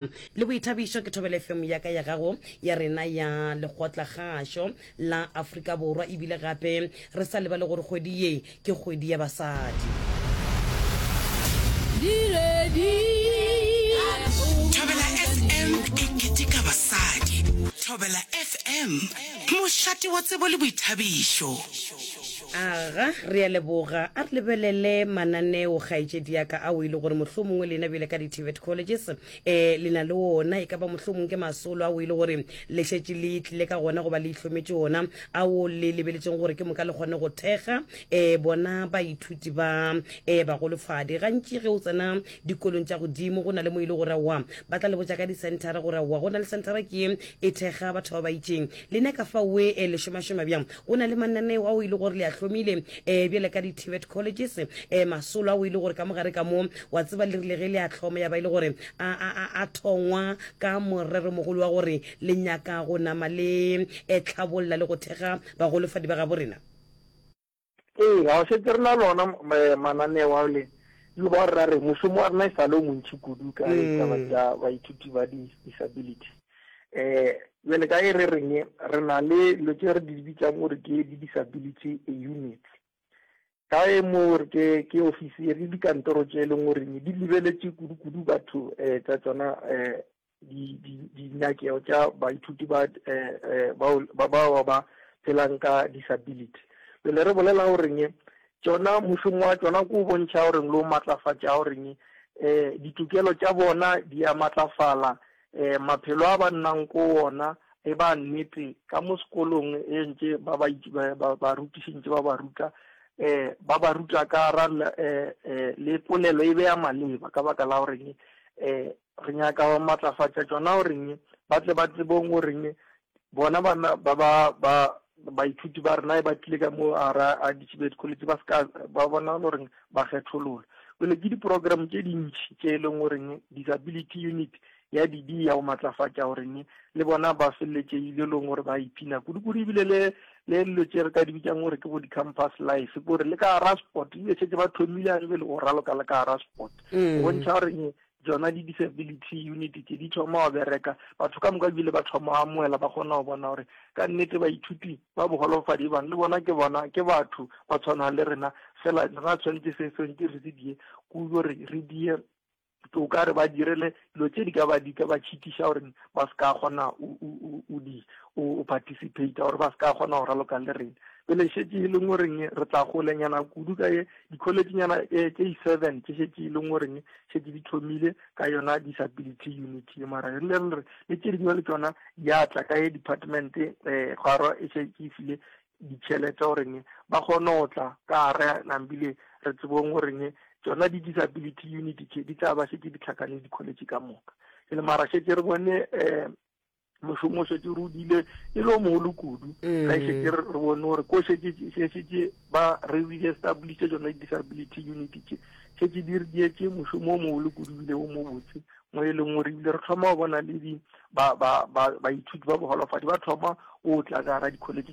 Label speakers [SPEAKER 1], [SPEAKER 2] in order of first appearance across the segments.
[SPEAKER 1] Le boithabišo ke Thobela FM ya ka ya gago ya rena ya lekgotlakgašo la Afrika Borwa ebile gape re sa lebale gore kgwedi ye ke kgwedi ya basadi.
[SPEAKER 2] Thobela FM e keteka basadi. Thobela FM, mošate wa tsebo le boithabišo.
[SPEAKER 1] Aga, re a leboga. A re lebelele mananeo, kgaetšedi ya ka, ao e le gore mohlomongwe lena bjale ka di-TVET colleges um le na le ona, e ka ba mohlomongwe ke masolo ao e le gore le šetše le tlile ka gona goba le itlhometše ona, ao le lebeletšeng gore ke moka le kgone go thekga um bona baithuti ba um bagolofadi. Gantši ge o tsena dikolong tša godimo go na le mo e le gore aowa ba tla le botša ka disenthara gore aowa go na le senthara ke ye e thekga batho ba ba itšeng. Lena ka fao e le šomašoma bjang? Go na le mananeo ao e le gore le a hlomile um bjale ka di-TVET colleges um masolo ao e le gore ka mogare ka mo wa tseba le rile ge le a hloma ya ba e le gore a, a, a, a thongwa ka moreromogolo wa gore le nyaka go nama le eh, tlhabolla le go thekga bagolofadi ba gabo rena.
[SPEAKER 3] Ee, ga o šetše re na le ona mananeo ao le le ba ra re mošomo wa rena e sa le o montši kudu ka ditaba tša baithuti ba di-disability. Um bjale ka e re reng re na le dilo tše re di bitsang gore ke di-disability units. Ka e mo re ke ke ofisi re dikantoro tše e leng gore di lebeletše kudu-kudu batho um tša tsona um dinyakego tša baithuti ba eh, eh, ba bao ba phelang ka disability. Pele re bolela goreng tšona mošomo wa tšona ko bontšha goreng le o matlafatša goreng um ditokelo tša bona di a matlafala um maphelo a ba nnang ko ona e ba nnete ka mo sekolong e ntše ba ba barutiši ntše ba ba ruta um ba ba ruta ka ra um le polelo e be ya maleba ka baka la goreng um Re nyaka go matlafatša tšona goreng ba tle ba tsebong goreng bona bana ba ba ba baithuti ba rena e ba tlile ka mo ara a di-TVET college ba seka ba bona goreng ba kgethololwa. Pele ke di-program tše dintši tše e leng goreng disability unit ya di di ya go matlafatša goreng le bona ba feleletše ile leng gore ba iphina kudu-kudu ebile le le dilo tše re ka di bitsang gore ke bo di-campus life kore le ka gara sport ebile šetse ba thomile a ebele go raloka le ka gara sport go bontšha gore Tšona di-disability unit tše di thoma go bereka, batho ka moka ebile ba thoma go amoela, ba kgona go bona gore ka nnete baithuti ba bogolofadi bang le bona ke bona ke batho ba tshwana le rena, fela rena tshwanetse se tshwanetse re se die kudu gore re die o ka re ba direle dilo tše di ka ba di ka ba tšhitiša gore ba se ka kgona o di o participate gore ba se ka kgona go raloka le rena. Pele šetše e leng goreng re tla golenyana kudu ka ye di-college-nyana eh, tše i-seven tše šetše e leng goreng šetše di thomile ka yona disability unit ye mara re le re le tše dingwe le tšona di a tla ka ye department um kgwaro e šetše e file ditšhelete goreng ba kgone go tla ka gare nambile re tsebong goreng tšona di-disability unit tše di tla ba šetše di tlhakane di-college ka moka e le mara šetše re bone um mošomo o šetše re o dile e le o mogolo kudu mm. ga e šetše re bone gore ko šetše ba re re-establishe tsona di-disability unit tše šetše di re dietše mošomo o mogolo kudu bile o mobotse mo e leng gore ebile re thoma go bona le di baithuti ba bogolofadi ba thoma o tla ka gara di-college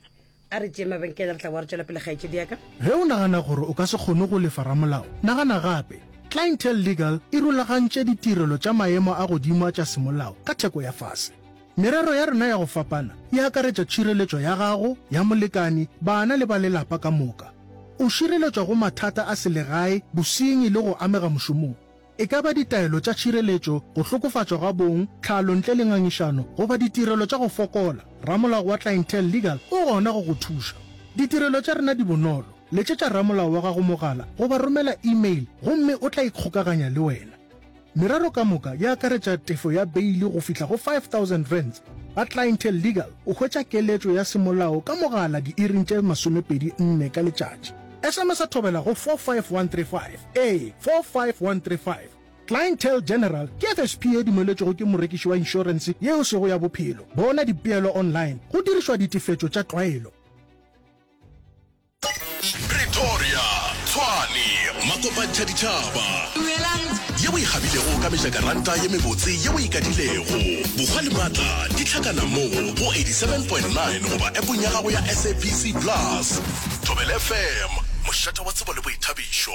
[SPEAKER 1] A re tšee mabenkele re tla boa re tšwela pele kgaetšedi ya ka.
[SPEAKER 4] Ge o nagana gore o ka se kgone go lefa ramolao, nagana gape. Clientele Legal e rulagantše ditirelo tša maemo a godimo a tša semolao ka theko ya fase. Merero ya rena ya go fapana e akaretša tšhireletšo ya gago, ya molekani, bana le ba lelapa ka moka. O šireletšwa go mathata a selegae, bosenyi le go amega mošomong. E ka ba ditaelo tša tšhireletšo, go hlokofatšwa ga bong, tlhalo ntle le ngangišano, goba ditirelo tša go fokola, ramolao wa Clientele Legal o gona go go thuša. Ditirelo tša rena di bonolo. Letšetša ramolao wa gago mogala goba romela e-mail gomme o tla ikgokaganya le wena. Merero ka moka e akaretša tefo ya beili go fihla go R5000. Ba Clientele Legal o hwetša keletšo ya semolao ka mogala diiring tše 24 ka letšatši. SMS-a thobela go 45135. Ee, 45135. Clientele General ke FSP ye dumeletšwego ke morekiši wa inšorense ye e sego ya bophelo. Bona dipeelo online go dirišwa ditefetšo tša tlwaelo.
[SPEAKER 5] Pretoria, Tshwane, Makopantšha ditšhaba. Ye o e gabilego ka mejakaranta ye mebotse ye o e kadilego. Bohwa le maatla di hlakana mo go 87.9 goba appong ya gago ya SABC Plus. Thobela FM, mošate wa tsebo le boithabišo.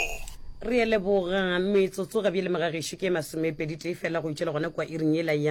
[SPEAKER 1] Re a leboga. Metsotso ga bjale magagešo ke e masomepeditee fela go itšwela gona kua iring yela ya.